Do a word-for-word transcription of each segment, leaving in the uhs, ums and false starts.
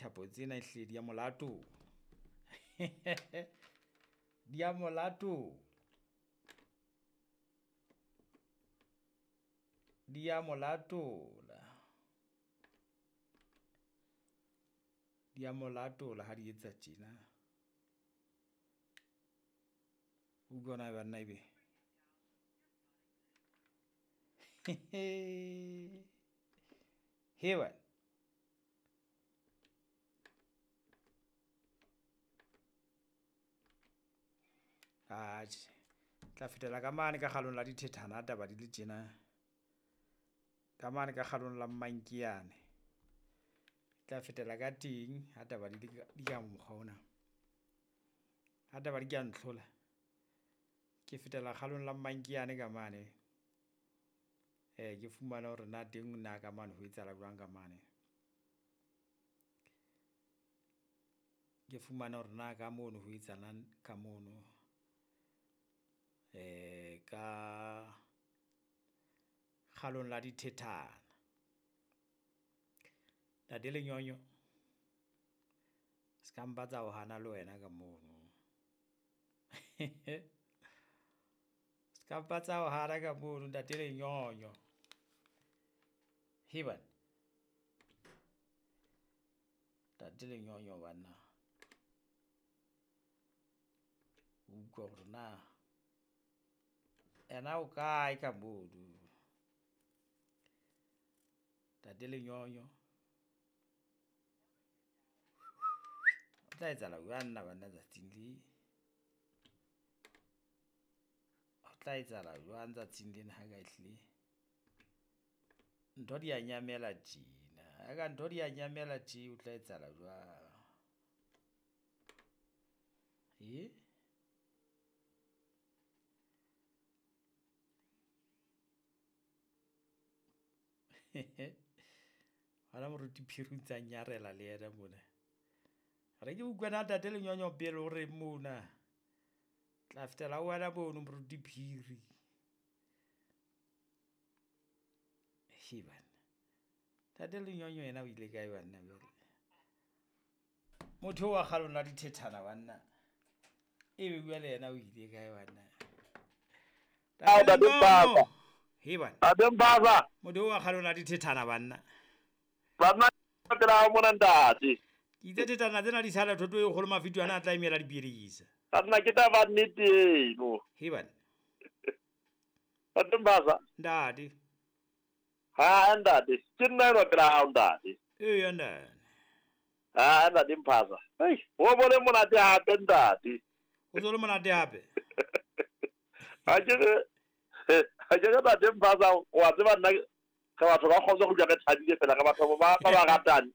Dithapo tsena ehlile di a mo latola. Di a mo latola. Di a mo latola. Di a mo latola ha di etsa tjena. Utlwa na banna ebe. He wena. Atjhe, tla fetela ka mane ka kgalong la dithethana taba di le tjena. Ka mane ka kgalong la Mmankeane. Tla fetela ka teng ha taba di le di ka mokgwa ona. Ha taba di ka ntlhola, ke fetela kgalong la Mmankeane ka mane. Eh ke fumane hore na teng na ka mane ho etsahala jwang ka mane. Ke fumane hore na ka mono ho etsahalang ka mono. Eh ka kgalong la dithethana. Ntate Lenyonyo ska mpa tsa o hana le wena ka mono. Ska mpa tsa o hana ka mono ntate Lenyonyo. He banna. Ntate Lenyonyo banna. Utlwa hore na ena o kae ka mono. Ntate Lenyonyo. O tla etsahala jwang nna banna tsatsing le? Ho tla etsahala jwang tsatsing lena ha ka ehlile ntho di a nyamela tjena. Ha ka ntho di a nyamela tje ho tla etsahala jwang? E? Hona moruti Phiri o ntsa nyarela le yena mona. Re ke utlwe na ntate Lenyonyo pele o reng mona. Tla fetela ho wena mono moruti Phiri. He banna. Ntate Lenyonyo yena o ile kae banna jwale? Motho wa kgalong la dithethana banna. Ebe bua le yena o ile kae banna? Ntate Lenyonyo. He banna. Ntate Mpasa. Motho wa kgalong la dithethana banna. Banna pela mona ntate. Ke itse thethana tsena di sala thoto e kgolo mafito ana a tla emela dipidisa. Banna ke taba nnete eno. He banna. Ntate Mpasa. Ntate. Ha ntate, ke nna eno pela hao ntate. Ee ntate. Ha ntate Mpasa. Hei, o bone monate hape ntate. O tsole monate hape. Ha ke re ha ke re ntate Mpasa wa tseba nna re batho ba kgotsa go dula re thabile fela re batho ba ba ba ratang.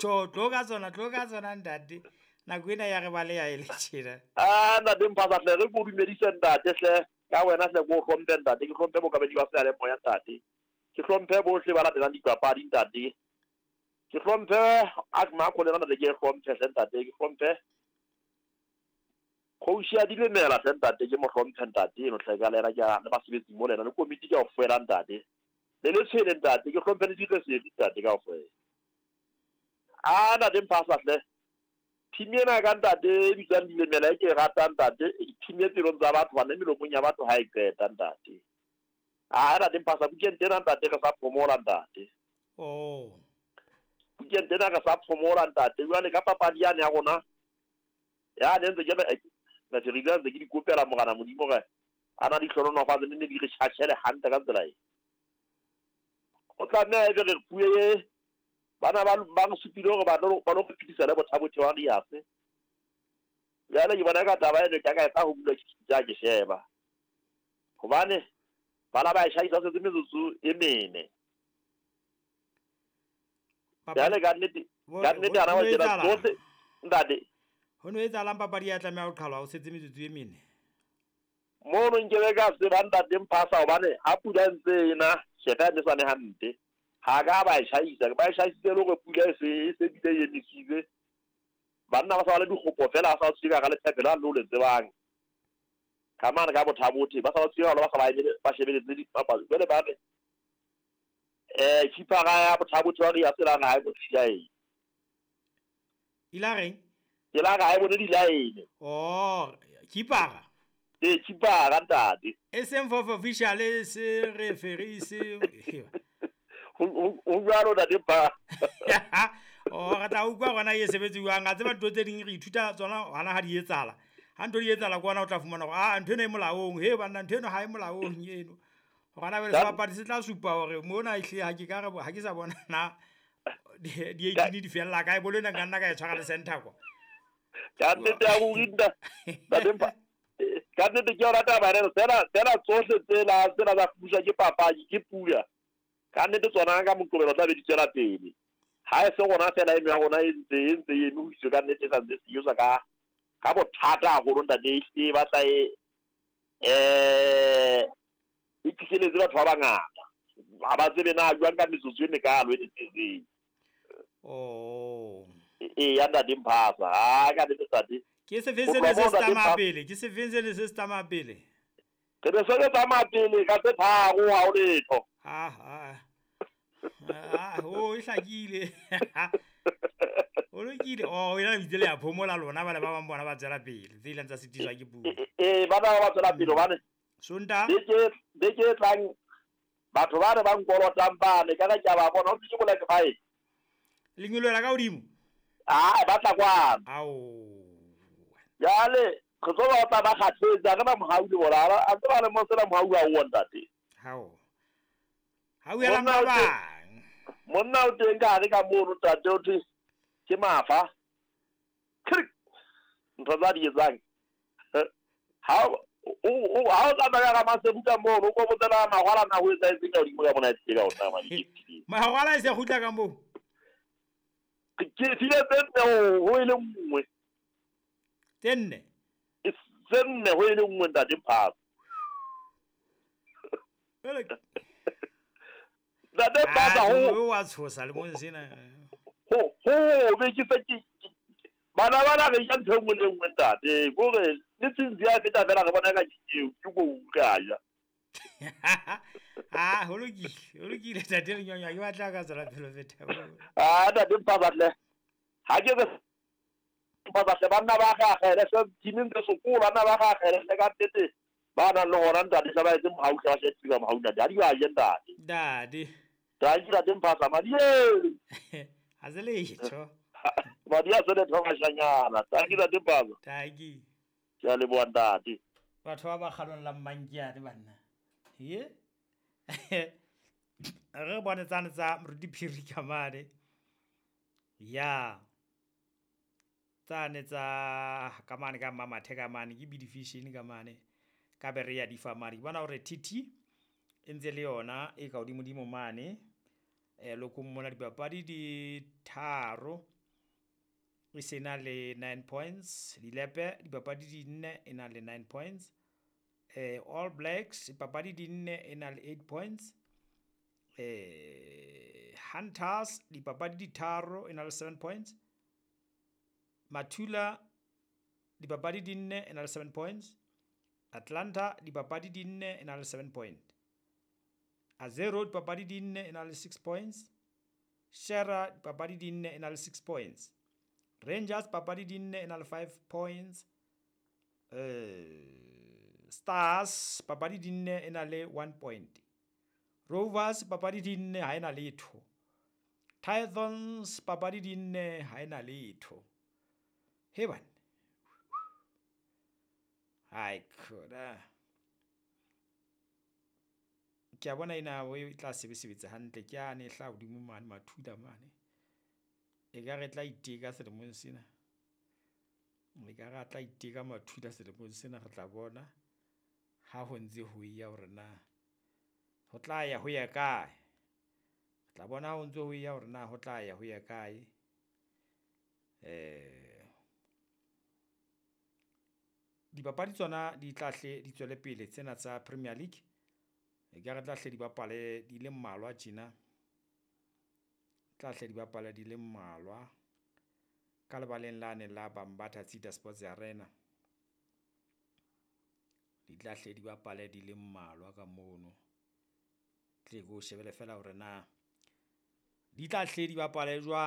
Tjo, tlo ka tsona, tlo ka tsona ntate. Nako ena ya re ba le ya e le tjena. Ah ntate Mpasa hle re go dumedise ntate hle. Ka wena hle go hlomphe ntate, ke hlomphe bokabedi ba seyalemoya ntate. Ke hlomphe bohle ba latelang dipapadi ntate. Ke hlomphe Akma go lena ntate ke hlomphe hle ntate, ke hlomphe Kgoši ya Dilemela hle ntate, ke mo hlomphe ntate eno hle ka lena ke a le basebetsi mo lena le komiti kaofela ntate. Le le tshwele ntate, ke hlomphe le diresedi ntate kaofela. Ah ntate Mpasa hle. Team ena ka ntate e bitswang Dilemela e ke e ratang ntate, e team e pelong tsa batho bana melomong ya batho ha e qeta ntate. Ah ntate Mpasa weekend ena ntate re sa phomola ntate. Oh. Weekend ena re sa phomola ntate. Jwale ka papadi yane ya rona ya ne ntse ke re na re ile ntse ke di kopela morana Modimo re ana di hlononofatse ne ne di re tjhatjhele hantle ka tsela e. O tlameha ebe re puwe bana ba ba re supile hore ba lo ba lo phedisa le bothabothe wa Riase. Jwale ke bona ka taba eno ka ka etsa ho bula ke ja ke sheba. Hobane bana ba e shahisa setse metsotso e mene. Jwale ka nnete ka nnete ana wa tsela tsohle ntate. Ho no etsahalang papadi ya tlameha ho qhalwa ho setse metsotso e mene. Mono nkebe ka tseba ntate Mpasa hobane ha pula e ntse ena sheba ne sane hampe. Ha ka ba e shahisa, ba e shahisitse le hore pula e se e se bile e emisitse. Banna ba sa ba le dikgopo fela ba sa tsika ka lephephe la lo le tsebang. Ka mane ka bothabothe ba sa ba tsika ba sa ba emele ba shebeletse dipapadi. Jwale ba re eh keeper ya bothabothe wa re ya tsela ha e bo tsila e. Ila reng? Ke la ga e bone di-line. Oh, keepera. Ee, keepera ntate. E seng for official e se referee se. Ho jwalo ntate pa. Oh, re tla utlwa gona e sebetse jwang. A tseba ntho tse ding re ithuta tsona hana ha di etsahala. Ha ntho di etsahala ke ona o tla fumana hore ah ntho ena e molaong. He banna ntho eno ha e molaong eno. Gona jwale sebapadi se tla supa hore mona ehlile ha ke ka re ha ke sa bona na di eighteen di fella kae, bolo ena nka nna ka e tshwara le center kwa. Ka nnete ya ruri ntate Mpa, ka nnete ke yona taba ena, tsena tsena tsohle tsela tsena tsa pusa ke papadi ke pula. Ka nnete tsona ka Moqebelo tla be di tswela pele. Ha e se rona fela eno ya rona e ntse e ntse e eme ho iswe ka nnete e sa ntse se etswa ka ka bothata haholo ntate, e batla e eh e fihleletse batho ba bangata. Ha ba tsebe na jwang ka metsotso e mekalo e tletseng. Oh. E ya ntate Mphasa, ha ka nnete ntate. Ke sefeng se ne se se tsamaya pele, ke sefeng se ne se se tsamaya pele. Re ne se re tsamaya pele ka tse tharo ha ho letho. Ah ah. Ah, ho e hlakile. O lokile. Oh, ena le itse le ya phomola lona ba le ba bang bona ba tswela pele. Tse ileng tsa sitiswa ke pula. Eh, ba ba ba tswela pele hobane Sontaha beke beke e tlang batho ba re ba nkolotang bane ka ka ke a ba bona ho ke Black Five. Lengolo la ka hodimo. Ah, ba tla kwano. Ao. Jwale re tlo ba tla ba kgathetse, ha re na mohau le bona. A tse ba le mo sena mohau ha o ntate. Hao. Ha o ela ba bang. Monna o teng ka hare ka mono ntate, o thwe ke mafa. Krik. Ntho tsa di etsang. Ha o o ha o tsamaya ka masebuka mono, o kobotsela magwala na ho etsa etseng ka hodimo ka mona e ka o tsamaya di. Magwala e se kgutla ka moo. Ke file tse nne ho e le nngwe. Tse nne? Tse nne ho e le nngwe ntate Mphasa. Ntate Mphasa ho o a tshosa le mo sena. Ho ho be ke se ke bana bana re ja ntho e nngwe le nngwe ntate. Kore le tsinzi ya feta fela re bona ka ke ke go ka ja. Ah, ho lokile, ho lokile ntate Lenyonywa, ke batla ka tswela pele feta. Ah, ntate Mphasa hle. Ha ke re Mphasa hle banna ba gagele se teaming tse sekolo banna ba gagele hle ka nnete ba nang le hona ntate hle ba etse mohau hle ba hle ba mohau ntate. Ha di ba je ntate. Ntate. Thank you ntate Mphasa madi e. Ha se letho. Madi a se letho bashanyana. Thank you ntate Mphasa. Thank you. Ke a leboha ntate. Batho ba ba kgalong la Mmankiane banna. Ye? Re bone tsane tsa Moruti Phiri ka mane. Ya. Tsane tsa ka mane ka Mmamathe ka mane ke Bidifishini ka mane. Ka be re ya di fa mane. Ke bona hore T T e ntse le yona e ka hodimodimo mane. Eh lokong mona dipapadi di tharo e se na le nine points. Dilepe dipapadi di nne e na le nine points. Eh, All Blacks dipapadi di nne e na le eight points. Eh, Hunters dipapadi di tharo e na le seven points. Mathula dipapadi di nne e na le seven points. Atlanta dipapadi di nne e na le seven point. Azero dipapadi di nne e na le six points. Shera dipapadi di nne e na le six points. Rangers papadi di nne e na le five points. Eh, Stars papadi di nne e na le one point. Rovers papadi di nne ha e na letho. Pythons papadi di nne ha e na letho. He bana. Hai khona. Ke a bona ena e tla sebesebetsa hantle ke ane e hla hodimo mane Mathula mane. E ka re tla iteka selemong sena. E ka re tla iteka Mathula selemong sena re tla bona ha ho ntse ho ya hore na ho tla ya ho ya kae. Re tla bona ha ho ntse ho ya hore na ho tla ya ho ya kae. Eh dipapadi tsona di tla hle di tswele pele tsena tsa Premier League. E ka re tla hle di bapale di le mmalwa tjena. Tla hle di bapale di le mmalwa ka lebaleng lane la Bambatha Tsita Sports Arena. Di tla hle di bapale di le mmalwa ka mono. Tle go shebele fela hore na di tla hle di bapale jwang.